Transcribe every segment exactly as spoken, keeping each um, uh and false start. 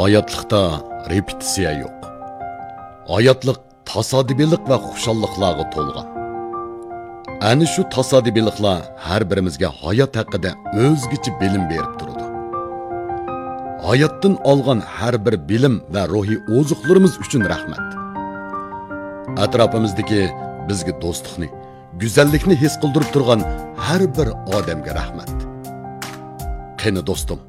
ھاياتلىقتا رېپېتىتسىيە يوق. ھاياتلىق تاسادىپىيلىق ۋە خۇشاللىقلارغا تولغان. ئەنە شۇ تاسادىپىيلىقلار ھەر بىرىمىزگە ھايات ھەققىدە ئۆزگىچە بىلىم بېرىپ تۇرىدۇ. ھاياتتىن ئالغان ھەر بىر بىلىم ۋە روھىي ئوزۇقلىرىمىز ئۈچۈن رەھمەت. ئەتراپىمىزدىكى بىزگە دوستلۇقنى، گۈزەللىكنى ھېس قىلدۇرۇپ تۇرغان ھەر بىر ئادەمگە رەھمەت. قېنى دوستۇم،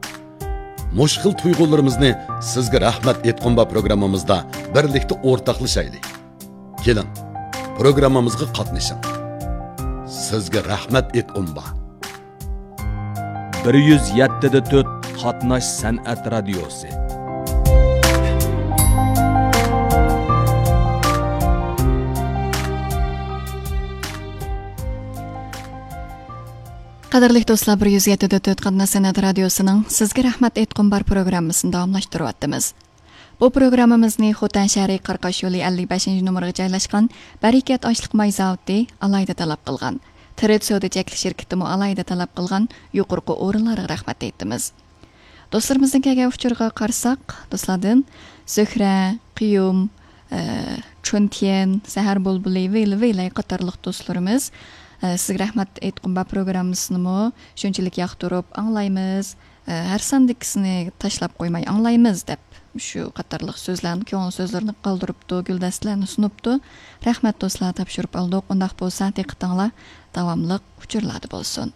مۇشۇ خىل تۇيغۇلىرىمىزنى سىزگە رەھمەت ئېيتقۇم بار پروگراممىمىزدا بىرلىكتە ئورتاقلىشايلى. كېلىڭ، پروگراممىمىزغا قاتنىشىڭ. سىزگە رەھمەت ئېيتقۇم بار. بىر يۈز يەتتە دە تۆت قاتناش سەنئەت رادىيوسى. قەدىرلىك دوستلار، بىر يۈز يەتتە دە تۆت قاتناش سەنئەت رادىيوسىنىڭ سىزگە رەھمەت ئېيتقۇم بار پروگراممىسىنى داۋاملاشتۇرۇۋاتىمىز. بۇ پروگراممىمىزنى خوتەن شەھىرى قاراقاش يولى ئەللىك بەشىنچى نومۇرغا جايلاشقان بەرىكەت ئاشلىق ماي زاۋۇتى ئالاھىدە تەلەپ قىلغان. ترېد سودا چەكلىك شىركىتىمۇ ئالاھىدە تەلەپ قىلغان يۇقىرىقى ئورۇنلارغا رەھمەت ئېيتىمىز. دوستلىرىمىزنىڭ كەلگەن ئۇچۇرىغا قارىساق، دوستلاردىن زۆھرە، قىيۇم، ئە، چۈنتيەن، سەھەر بۇلبۇلى، ۋىل ۋىلەي قاتارلىق دوستلىرىمىز، ئە، سىزگە رەھمەت ئېيتقۇم بار پروگراممىسىنىمۇ شۇنچىلىك ياقتۇرۇپ ئاڭلايمىز، ئە، ھەر ساندىكىسىنى تاشلاپ قويماي ئاڭلايمىز دەپ، شۇ قاتارلىق سۆزلەرنى، كۆڭۈل سۆزلىرىنى قالدۇرۇپتۇ، گۈلدەستىلەرنى سۇنۇپتۇ. رەھمەت دوستلار، تاپشۇرۇپ ئالدۇق. ئۇنداق بولسا دىققىتىڭلار داۋاملىق ئۇچۇرلاردا بولسۇن.